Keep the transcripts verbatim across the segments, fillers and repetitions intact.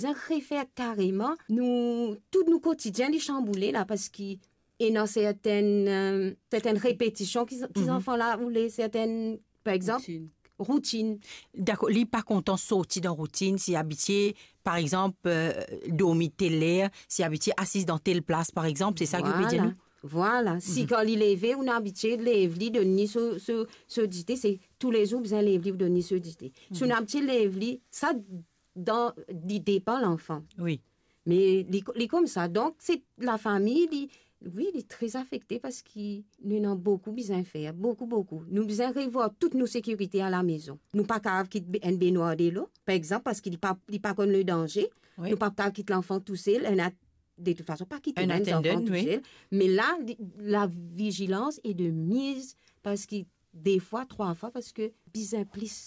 Bizin refer kareman, nou, tout nou kotidien li sanboule la, parski ena sertenn, eh, sertenn repetision ki, ki zanfan la oule, sertenn, par exanp, routine. Dakor, li pa kontan sorti dan routine, si abitie, par exanp, eh, dormi tel ler, si abitie asiz dan tel plas, par exanp, se sa ki ou pe dir nou? Vwala. Si kan li leve, ou ena abitie lev li, donn li so, so, so dite, se toulezour bizin lev li pou donn li so dite. Si ou ena abitie lev li, sa dan, li depan lanfan. Wi. Me li, li koumsa. Donk, se lafami, li, wi, li tre afekte parski nou ena boukou bizin fer, boukou, boukou. Nou bizin revwar tout nou sekirite alamezon. Nou pa kapav kit be-, enn benwar delo, par exanp, parski li pa, li pa konn le danze. Wi. Nou pa kapav kit lanfan tousel, enn at-, de tout fason, pa kit enn zanfan tousel. Me la, li, la vizilans e de miz, parski de fwa, trwa fwa, parski bizin plis,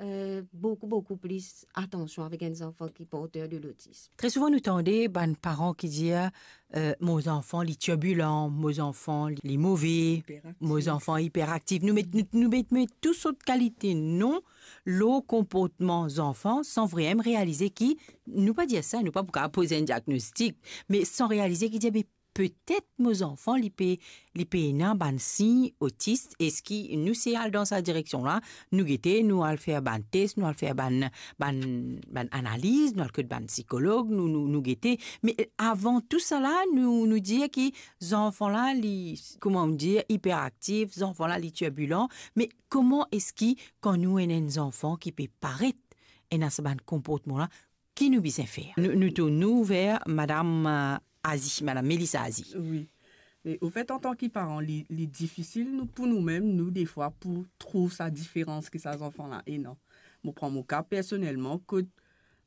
eh, boukou, boukou plis atansion avek enn zanfan ki porter de lotism. Tre souvan nou tande bann paran ki dir, eh, "Mo zanfan li tirbilan, mo zanfan li, li move, mo zanfan iperaktif." Nou met, nou, nou met, met tou sort kalite non lor konportman zanfan san vremem realize ki, nou pa dir sa, nou pa pou kapav poz enn diagnostik, me san realize ki dir, be petet mo zanfan li pe, li pe ena bann sign otis. Eski nou se al dan sa direksion la? Nou gete, nou al fer bann tes, nou al fer bann, bann, bann analiz, nou al kot bann sikolog, nou, nou, nou gete. Me, eh, avan tou sa la, nou, nou dir ki zanfan la, li, kouma nou dir, iperaktif, zanfan la, li tirbilan. Me kouma eski, kan nou ena enn zanfan ki pe paret ena sa bann konportman la, ki nou bizin fer? Nou, nou tourn nou ver madam, eh, Azi, madam Melissa Azi. Wi. Me, ofet, antan ki paran, li, li difisil nou, pou noumem, nou, defwa, pou trouv sa diferans ki sa zanfan la ena. Mo pran mo ka personelman, kot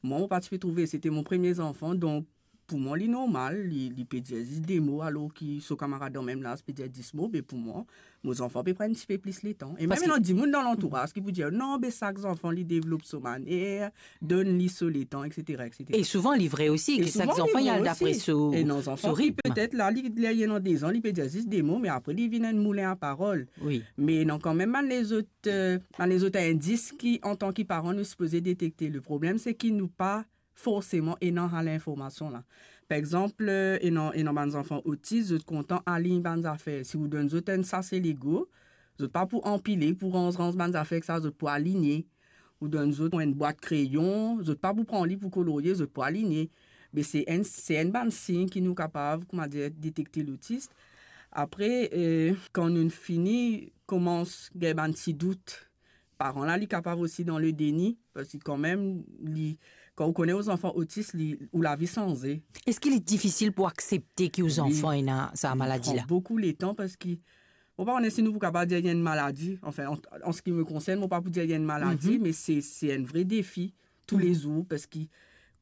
mwa, mo pa ti pe trouve, sete mo premie zanfan, donk, pou mwa, li normal, li, li pe dir zis de mo, alor ki so kamarad dan mem laz pe dir dis mo, me pou mwa, mo zanfan pe pran enn tipe plis letan. E mem ena dimoun dan lantouraz ki pou dir, "Non, be sak zanfan li devlop so maner, donn li so letan, etsetera, etsetera." E souvan, li vre osi, ki sak zanfan, li al dapre so, so ritm. E ena zanfan ki petet la, li, li ena de zan, li pe dir zis de mo, me apre, li vinn enn moulen a parol. Wi. Me ena kanmem bann lezot, eh, bann lezot indis ki, antan ki paran, nou sipoze detekte. Le problem, se ki nou pa forseman ena sa linformasion la. Par exanp, eh, ena, ena bann zanfan otis, zot kontan align bann zafer. Si ou donn zot enn sase Lego, zot pa pou anpile, pou ranz, ranz bann zafer ek sa, zot pou aligne. Ou donn zot enn bwat kreyon, zot pa pou pran li pou kolorie, zot pou aligne. Me se enn, se enn bann sign ki nou kapav, koumadir, detekte lotis. Apre, eh, kan nou fini koumans gagn bann ti dout, paran la, li kapav osi dan le deni, parski kanmem, li, kan ou kone ou zanfan otis, li, ou lavi sanze. Eski li difisil pou aksepte ki ou zanfan ena sa maladi la? Wi, li pran boukou letan, parski, mo pa kone si nou pou kapav dir li enn maladi, anfin, an, an se ki me konsern, mo pa pou dir li enn maladi, me se, se enn vre defi, toulezour, parski,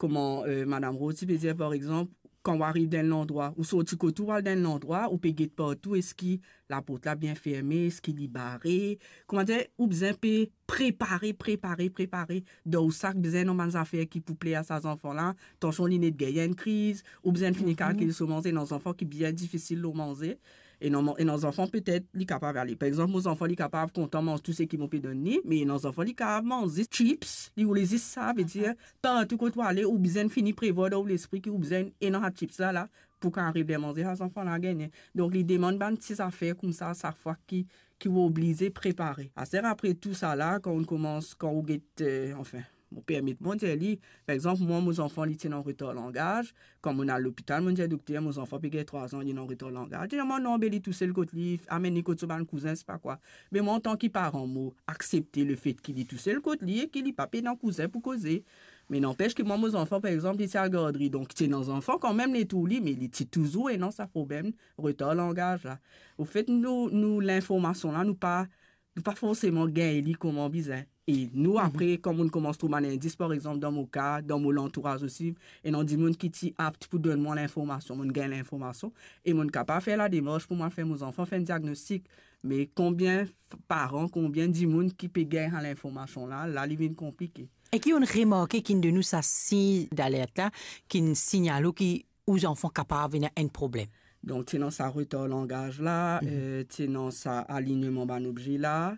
kouma, eh, madam Rose ti pe dir, par exanp, kan ou ariv dan enn landrwa, ou sorti kot ou, ou al dan enn landrwa, ou pe get partou, eski laport la bien ferme, eski li bare? Koumadir, ou bizin pe prepare, prepare, prepare. Dan ou sak bizin ena bann zafer ki pou pler a sa zanfan la, tansion li net gagn enn kriz, ou bizin fini kalkil so manze, ena zanfan ki bien difisil lor manze. Ena mo-, ena zanfan petet li kapav ale. Par exanp, mo zanfan li kapav kontan manz tou seki mo pe donn li, me ena zanfan li kapav manz zis chips, li oule zis sa, ve dir, partou kot ou ale, ou bizin fini prevwar dan ou lespri ki ou bizin ena sa chips la, la, pou kan ariv ler manze, sa zanfan la gagne. Donk, li demann bann ti zafer koumsa, sak fwa ki, ki ou oblize prepare. Aster apre tou sa la, kan ou koumans, kan ou get, eh, anfin, mo permet mwa dir li, par exanp, mwa, mo zanfan, li ti ena retar langaz. Kan mo al lopital, mo dir dokter, mo zanfan pe gagn trwa zan, li ena retar langaz. Dir mwa, "Non, be li tousel kot li, amenn li kot so bann kouzin, sepa kwa." Me mwa, antan ki paran, mo aksepte lefet ki li tousel kot li e ki li pa pena kouzin pou koze. Me nanpes ki mwa, mo zanfan, par exanp, li ti al gardri, donk ti ena zanfan kanmem letour li, me li ti touzour ena sa problem retar langaz la. Ofet, nou, nou, linformasion la, nou pa, nou pa forseman gagn li kouma bizin. E nou, apre, kan nou koumans trouv bann indis, par exanp, dan mo ka, dan mo lantouraz osi, ena dimoun ki ti apt pou donn mwa linformasion, mo gagn linformasion, e mo kapav fer lademars pou mwa fer mo zanfan fer enn diagnostik. Me konbien f-, paran, konbien dimoun ki pe gagn sa linformasion la, la, li vinn konplike. E ki ou'nn remarke ki inn donn ou sa sign dalert la, ki inn signal ou ki ou zanfan kapav ena enn problem? Donk, ti ena sa retar langaz la, eh, ti ena sa aligneman bann obze la,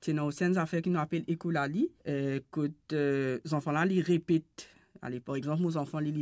ti ena osi enn zafer ki nou apel ekolali, eh, kot, eh, zanfan la, li repet. Ale, par exanp, mo zanfan, li, li